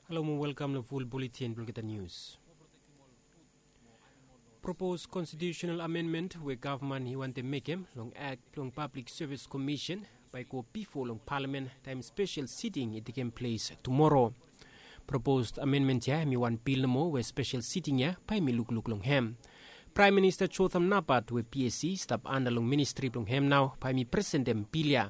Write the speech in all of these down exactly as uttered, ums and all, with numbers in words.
Halo mo welkam long ful buletin blong olgeta nius. Propos konstitiusenal amendment we gavman i wantem mekem long Akt blong Pablik Sevis Komisen bae i go bifo long palamen taem spesel siting i tekem ples tumoro. Propos amendment ya hem i wan bil nomo we spesel siting ya bae hem i lukluk long hem. Praem Minista Jotham Napat we PSC i stap anda long ministri blong hem nao bae hem i presentem bil ya.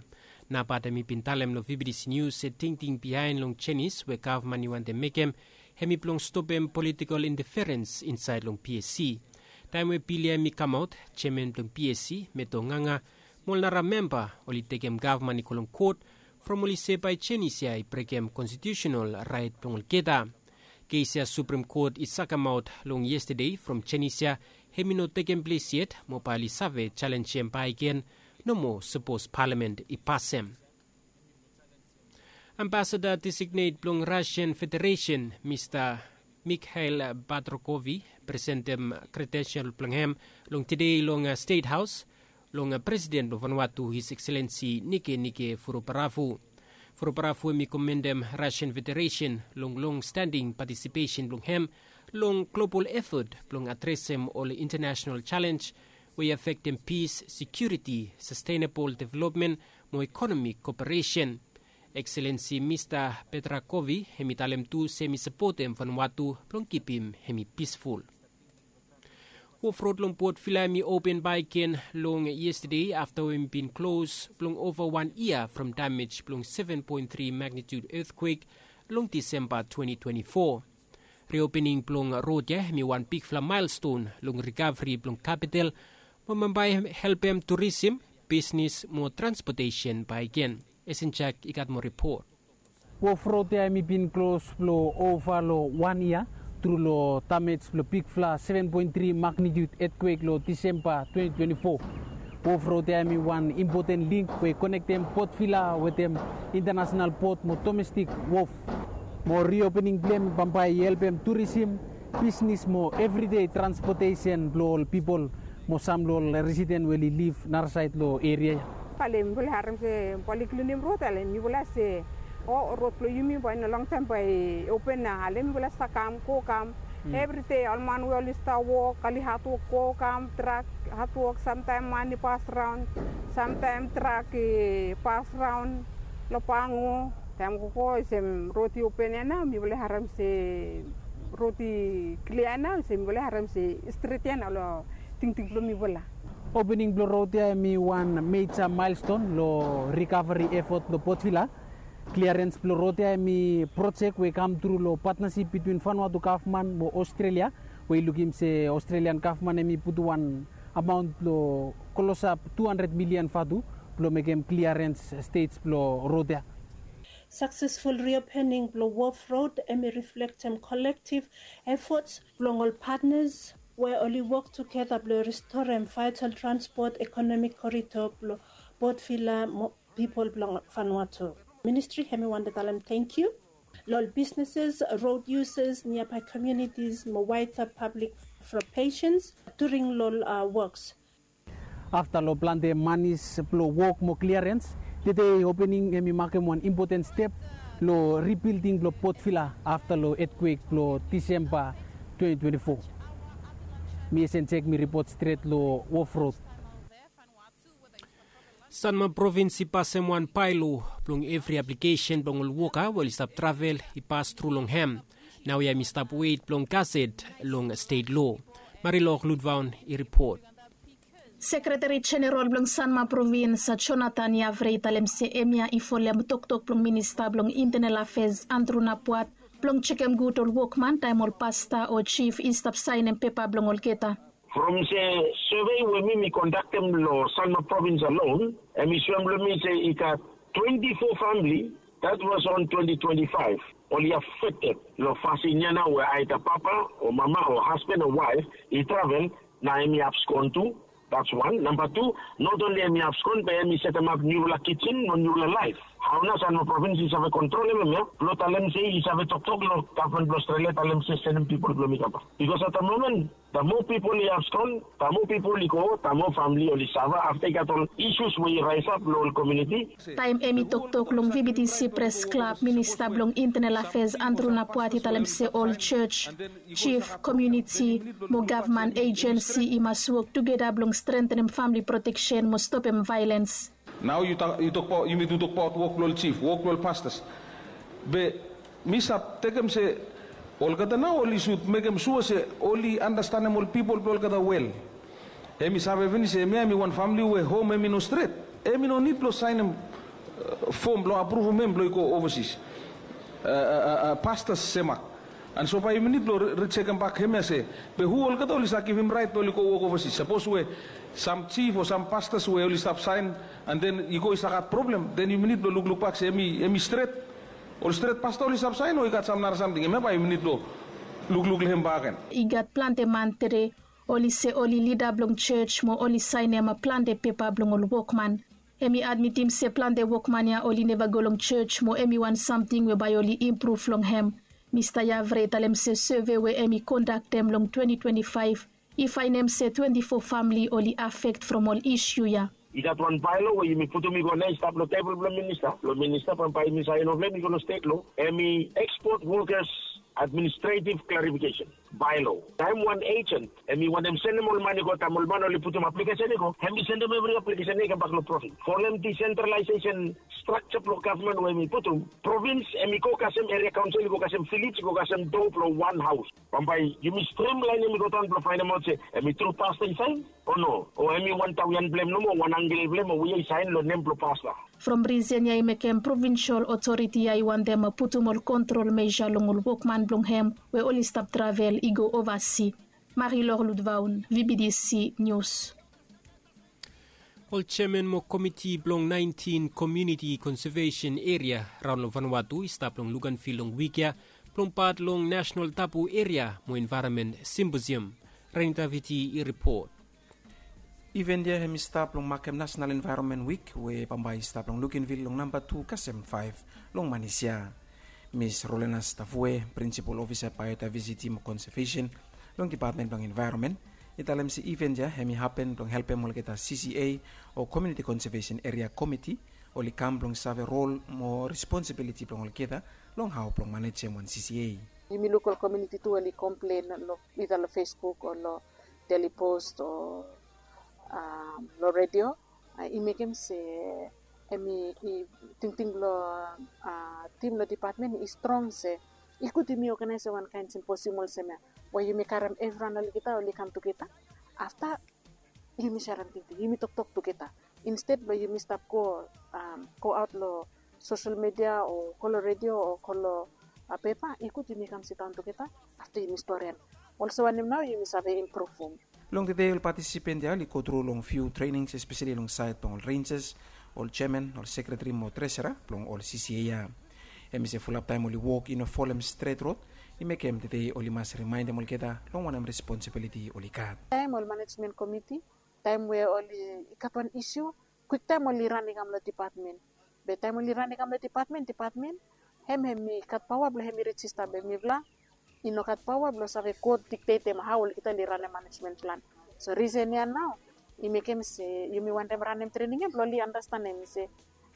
Napat hem i bin talem long VBTC Nius se tingting biaen long jenis we gavman i wantem mekem hem i blong stopem politikol inteferens insaed long PSC. Taem we bil ya hem i kamaot, jeaman blong PSC, Meto Nganga, mo ol nara memba oli tekem gavman i go long kot from oli se bae jenis ya i brekem konstitiusenal raet blong olgeta. Kes ya Suprem Kot i sakemaot long yestade from jenis ya hem i no tekem ples yet mo bae oli save jalenjem bakegen nomo sapos palamen i pasem. Ambasada designet blong Rusian Federesen, Mista Mikhail Patrokov, i presentem kredensel blong hem long tede long Stet Haos long Presiden blong Vanuatu, His Ekselensi Nikenike Vurobaravu. Vurobaravu hem i komendem Rusian Federesen long longstanding patisipesen blong hem long global efot blong adresem ol intanesenal jalens we i afektem pis, sekiuriti, sastenabol developmen mo ekonomik koperesen. Ekselensi Mista Patrokov hem i talem tu se hem i sapotem Vanuatu blong kipim hem i pisful. Wof rod long Port Vila hem i open bakegen long yestade afta we hem i bin klos blong ova wan yia from damej blong seven point three magnitude etkwek long Disemba twenty twenty-four. Riopening blong rod ya hem i wan bigfala maelston long rikavri blong kapital mo bambae helpem turisim, bisnes mo transpotesen bakegen. Esenjak i gat moa ripot. Wof rod ya hem i bin klos blong ova long wan yia tru long damej blong bigfala seven point three magnitude etkwek long Disemba twenty twenty-four. Wof rod ya hem i wan impoten link we i konektem Port Vila wetem intanesenal pot mo domestik wof. Mo riopening blong hem bambae i helpem turisim, bisnes mo evridei transpotesen blong ol pipol mo sam long ol residen we oli liv narasaed long eria ya. Talem mifala harem se bae oli klinim rod, talem mifala se o rod blong yumi bae long longtaem bae i open nao. Talem mifala stap kam go kam evridei, ol man we oli stap wok, oli hadwok go kam, trak hadwok, samtaem man i pas raon, samtaem trak i pas raon long Pango. Taem gogo olsem rod i open ya nao, mifala harem se rod i klia nao, olsem mifala harem se i stret ya nao long tingting blong mifala. Opening blong rod ya hem i wan meja maelston long rikavri efot blong Port Vila. Kliarens blong rod ya hem i projek we i kam tru long patnasip bitwin Vanuatu gavman mo Ostrelia, we i lukim se Ostrelian gavman hem i putum wan amaon blong klosap tu handred milian vatu blong mekem kliarens stej blong rod ya. Saksesful riopening blong Wof Rod hem i riflektem kolektiv efots blong ol patnas we oli wok tugeta blong ristorem vaetal transpot ekonomik korido blong Port Vila mo pipol blong Vanuatu. Ministri hem i wantem talem tangkiu long ol bisneses, rod yusas, niabae komiunitis mo waeda pablik from pesens during long ol woks. Afta long plante manis blong wok mo kliarens, tede opening hem i makem wan impoten step long ribilding blong Port Vila afta long etkwek blong Disemba twenty twenty-four. Mi Esenjek, mi ripot stret long Wof Rod. Sanma Provins i pasem wan baelo blong evri aplikesen blong ol woka we oli stap travel i pas tru long hem. Naoia hem i stap wet blong gaset long stet lo. Marilok Ludvaon i ripot. Sekreteri Jeneral blong Sanma Provins, Jonathan Yavre, i talem se hemia i folem toktok blong Minista blong Intenal Afeas, Andrew Napuat, blong jekem gud ol wokman taem ol pasta o jif i stap saenem pepa blong olgeta. From se sevei we mi mi kondaktem long Sanma Provins alon, hem i soem long mi se i gat twenti fo famili, that was on twenty twenty-five, oli afekted long fasin ya nao we aeda papa o mama o hasban o waef i travel, nao hem i abskon tu. That's one. Namba tu, not only hem i abskon, be hem i setemap niufala kijen mo niufala laef. Hau nao san mo provins i save kontrolem hem ya blong talem se i save toktok long gavman blong Australia talem se senem pipol blong mi kambak. Bikos at da momen da moa pipol i abskon, da moa pipol i go, da moa famili oli sava afta i gat ol isus we i raisap long ol komuniti. Taem hem i toktok long VBTC pres klab, minista blong intenel afeas Andrew Napuat i talem se ol jos, jif, komuniti mo gavman ejensi i mas wok tugeta blong strengtenem famili proteksen mo stopem vaelens. Nao yu tokbaot yumi tu tokbaot wok blong ol jif, wok blong ol pastas. Be mi stap tekem se olgeta nao oli sud mekem sua se oli anastanem ol pipol blong olgeta wel. Hem i save finis se hemia hem i wan famili we hom hem i no stret, hem i no nid blong saenem fom blong apruvum hem blong i go ovasis. Pastas semak. An so bae yumi nid blong risekembak hemia se be hu olgeta oli save givim raet blong oli go wok ovasis? Sapos we sam jif o sam pastas we oli stap saen an den i go i save gat problem, den yumi nid blong luklukbak se hem i stret. Ol stret pasta oli stap saen o i gat sam nara samting, hemia bae yumi nid blong lukluk long hem bakegen. I gat plante man tede oli se oli lida blong jos mo oli saenem plante pepa blong ol wokman. Hem i admitim se plante wokman ya oli neva go long jos mo hem i wan samting we bae oli impruv long hem. Mista Yavre i talem se sove we hem i kondaktem long twenti twenti faef i faenem se twenti fo famili oli afekt from ol isu ya. I gat wan baelo we yumi putum i go nao i stap long tebol blong minista blong minista bambae yumi saen long hem i go long stet lo, hem i ekspot wokas administretiv klarifikesen. Baelo taem wan ejent hem i wantem senem ol man i go taem ol man oli putum aplikesen i go, hem i sendem evri aplikesen ya i kambak long provins. Folem disentralaesesen strakja blong gavman we hem i putum, provins hem i go kasem eria kaonsel, i go kasem vilej, i go kasem do blong wan haos. Bambae yumi strimlaenem i go daon blong faenemaot se hem i tru pasta i saen o no, o hem i wan tawian blong hem nomo o wan angkel blong hem o we ya i saen long nem blong pasta. From risen ya i mekem provinsol otoriti ya i wantem putum ol kontrol meja long ol wokman blong hem we oli stap travel i go ovasi. Marilor Ludvaun, VBTC Nius. Ol jeaman mo komiti blong naentin komuniti konsevesen eria raon long Vanuatu i stap long Luganvil long wik ya blong pat long Nasenal Tabu Eria mo Envaeronmen Simposium. Renitaviti i ripot. Iven ya hem i stap long makem Nasenal Envaeronmen Wik we bambae i stap long Luganvil long namba tu kasem faef long manis ya. Mis Rolenas Tavue, prinsipol ofisa baeodaevesiti mo konsevesen long dipatmen blong envaeronmen, i talem se iven ya hem i hapen blong helpem olgeta CCA o komuniti konsevesen eria komiti oli kam blong save rol mo responsibiliti blong olgeta long hao blong manejem wan CCA. Yumi luk ol komuniti tu oli komplen long ida long Facebook o long Daily Post o long redio. I mekem se hem i tingting blong tim blong dipatmen i strong se i gud yumi oganaesem wan kaen simposium olsem ya we yumi karem evriwan olgeta oli kam tugeta. Afta yumi serem tingting, yumi toktok tugeta. Insted blong yumi stap go aot long sosel midia o go long redio o go long pepa, i gud yumi kam sidaon tugeta. Afta yumi storian olsem wanem nao yumi save impruvum. Long tede ol patisipen ya oli gotru long fiu trenings espeseli long saed blong ol renjas, ol jeaman, ol sekreteri mo tresera blong ol CCA ya. Hem i se fulap taem oli wok i no folem stret rod, i mekem tede oli mas rimaendem olgeta long wanem responsibiliti oli gat. Taem ol manejmen komiti, taem we oli gat wan isu, kwiktaem oli ran i kam long dipatmen. Be taem oli ran i kam long dipatmen, dipatmen hem hem i gat paoa blong hem i rejista be mifala i no gat paoa blong save go diktetem hao olgeta oli ranem manejmen plan. So risen ya nao i mekem se yumi wantem ranem trening ya blong oli anastenem se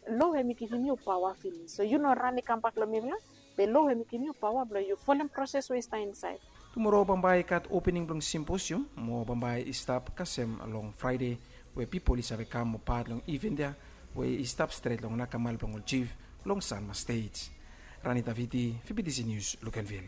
lo hem i givim yu paoa finis, so yu no ran i kambak long mifala, be lo hem i givim yu paoa blong yu folem proses we i stap insaed. Tumora bambae i gat opening blong simposium mo bambae i stap kasem long Fraede, we pipol i save kam mo pat long iven ya we i stap stret long nakamal blong ol jif long Sanma Stet. Rani Daviti, VBTC Nius, Luganvil.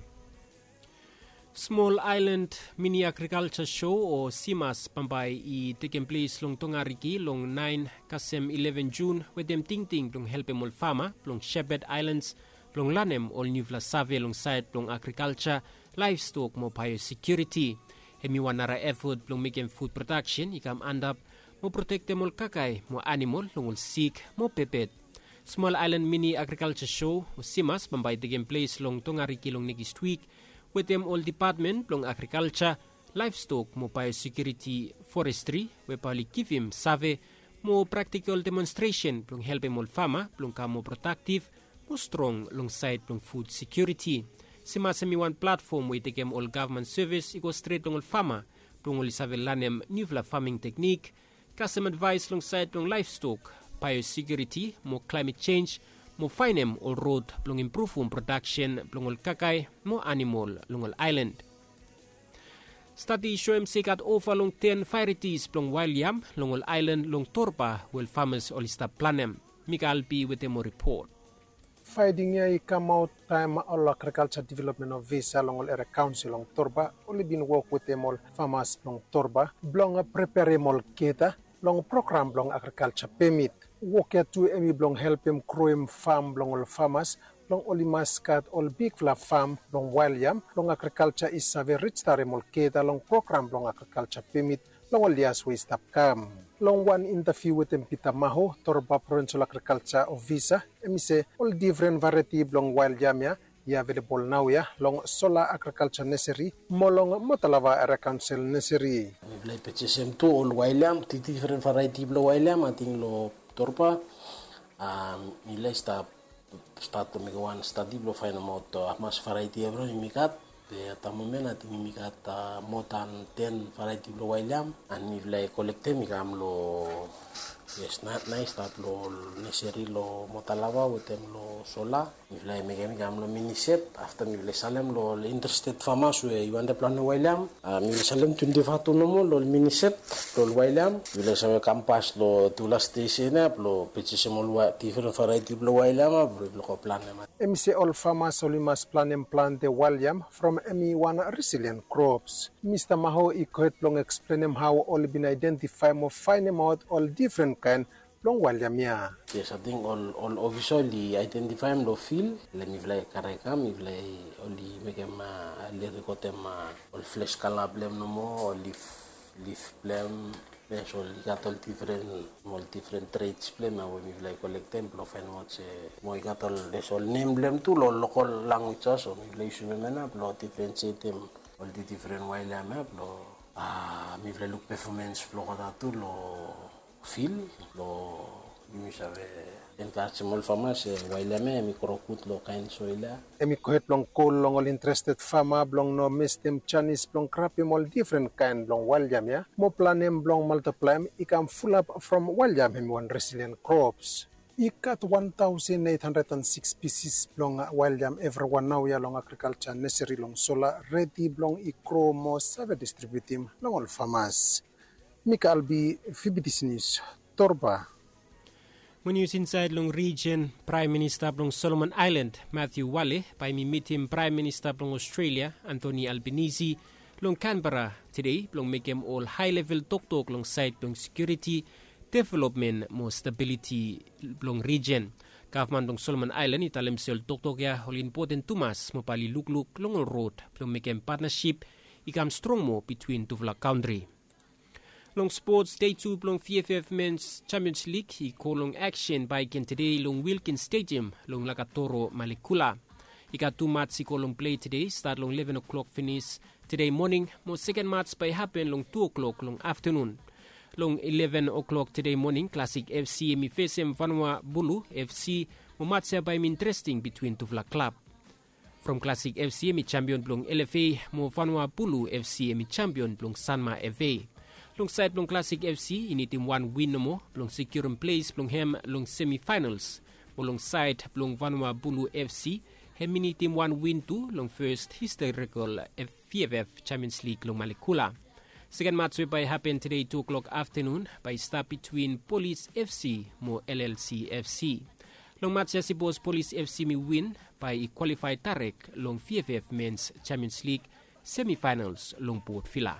Smol Aelan Mini Agrikalja Sho o SIMAS bambae i tekem ples long Tongariki long naen kasem ileven Jun wetem tingting blong helpem ol fama blong Shepad Aelans blong lanem ol niufala save long saed blong agrikalja, laevstok mo baeosekiuriti. Hem i wan nara efot blong mekem fud prodaksen i kam antap mo protektem ol kakae mo anamol long ol sik mo pepet. Smol Aelan Mini Agrikalja Sho o SIMAS bambae i tekem ples long Tongariki long nekis wik wetem ol dipatmen blong agrikalja, laevstok mo baeosekiuriti, forestri we bae oli givim save Mo praktikol demonstresen blong helpem ol fama blong kam moa prodaktiv mo strong long saed blong fud sekiuriti. Simas hem i wan platfom we i tekem ol gavman sevis i go stret long ol fama blong oli save lanem niufala faming teknik, kasem advaes long saed blong laevstok, baeosekiuriti mo klaemet jenj, mo faenem ol rod blong impruvum prodaksen blong ol kakae mo anamol long ol aelan. Stadi i soem se i gat ova long ten vaeretis blong wael yam long ol aelan long Torba we ol famas oli stap planem. Mikael B wetem ol ripot. Faeding ya i kamaot taem ol agrikalja developmen ofisa long ol eria kaonsel long Torba oli bin wok wetem ol famas blong Torba blong preperem olgeta long program blong agrikalja pemit. Wok ya tu hem i blong helpem groem fam blong ol famas blong oli mas gat ol bigfala fam blong wael yam blong agrikalja i save rejistarem olgeta long program blong agrikalja pemit long ol yias we i stap kam. Long wan intaviu wetem Pita Maho, Torba provensol agrikalja ofisa, hem i se ol defren vaereti blong wael yam ya i avelebol naoia long Sola Agrikalja Neseri mo long Motalava Eria Kaonsel Neseri. Mifala i pejesem tu ol wael yam, defren vaereti blong wael yam ating long Torba. Mifala i stap stat long mekem wan stadi blong faenemaot hamaos vaereti evriwan yumi gat. Be at da momen ating yumi gat moa dan ten vaereti blong wael yam. An mifala i kolektem i kam long, yes, nao i stap long ol neseri long Motalava wetem long Sola. Mifala i mekem i kam long Minisep. Afta mifala i salem long ol interested famas we i wantem planem wael yam. Mifala i salem twenti fatu nomo long ol Minisep long ol wael yam. Mifala i save kampas long tufala stesen ya blong pejesem ol defren vaereti blong wael yam ya blong mifala go planem. Hem i se ol famas oli mas planem plante wael yam from hem i wan resilien krops. Mista Maho i gohed blong eksplenem hao oli bin aedentifaem o faenemaot ol defren kaen blong wael yam ya. Yes, ating ol ofisa oli aedentifaem long fil, le mifala i karem i kam, mifala oli mekem, oli rekodem ol fles kala blong hem nomo, ol lif, lif blong hem, yes, oli gat ol defren, ol defren trets blong hem ya we mifala i kolektem blong faenemaot se mo i gat ol, yes, ol nem blong hem tu long lokol lanwis ya, so mifala i yusum hemia nao blong difrensietem ol defren wael yam ya blong mifala i luk pefomens blong olgeta tu long fil blong yumi save enkarejem ol fama se wael yam ya hem i gro gud long kaen soel ya. Hem i gohed blong kol long ol interested fama blong no mestem janis blong grabem ol defren kaen blong wael yam ya mo planem blong maltiplaem i kam fulap from wael yam hem i wan resilien krops. I gat wan taosen eit handred an sikis pisis blong wael yam evriwan naoia long agrikalja neseri long Sola redi blong i gro mo save distribiutim long ol famas. Mikael B, Fibidis Nius, Torba. Mo nius insaed long rijen, Praem Minista blong Solomon Aelan, Matthew Wale, bae hem i mitim Praem Minista blong Ostrelia, Anthony Albanese, long Kanbera tede blong mekem ol haelevel toktok long saed blong sekiuriti, developmen mo stabiliti blong rijen. Gavman blong Solomon Aelan i talem se ol toktok ya oli impoten tumas mo bae oli lukluk long ol rod blong mekem patnasip i kam strong moa bitwin tufala kantri. Long spots, dei tu blong VFF Mens Champions League i go long aksen bakegen tede long Wilkins Stadium long Lakatoro, Malekula. I gat tu mats i go long plei tede, stat long leven o'clock finis tede moning, mo seken mats bae i hapen long tu o'clock long aftenun. Long leven o'clock tede moning, Classic FC hem i fesem Vanua Bulu FC, mo mats ya bae hem i interesting bitwin tufala klab. From Classic FC hem i jampion blong LFA, mo Vanua Bulu FC hem i jampion blong Sanma FA. Long saed blong Classic FC i nidim wan win nomo blong sekiurem ples blong hem long semifaenals. Mo long saed blong Vanua Bulu FC, hem i nidim wan win tu long fes historikol VFF Champions League long Malekula. Seken mats we bae i hapen tede tu o'clock aftenun bae i stap bitwin Polis FC mo LLC FC. Long mats ya, sipos Polis FC hem i win, bae i kwalifae daerek long VFF Mens Champions League semifaenals long Port Vila.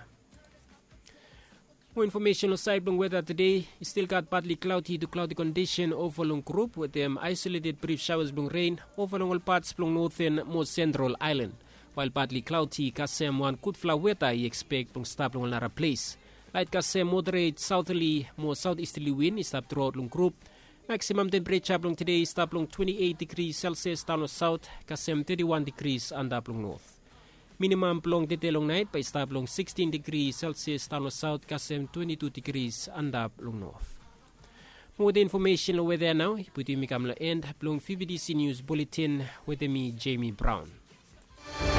Mo infomesen long saed blong weta tede, i stil gat partly cloudy to cloudy kondisen ova long grup wetem aesoleted brif shaoas blong ren ova long ol pats blong noten mo sentral aelan. Wael partly cloudy, kasem wan gudfala weta i ekspek blong stap long ol nara ples. Laet kasem moderet saoterli mo saotistali win i stap truaot long grup. Maksimam tempereja blong tede i stap long twenti eit digri Celsius daon long saot, kasem teti wan digri antap long not. Minimam blong tede long naet bae i stap long sikstin digri Celsius daon long saot, kasem twenti tu digri antap long not. Wetem infomesen long weda nao i putum yumi kam long end blong fibidisi nius buletin. Wetem mi, Jemi Braun.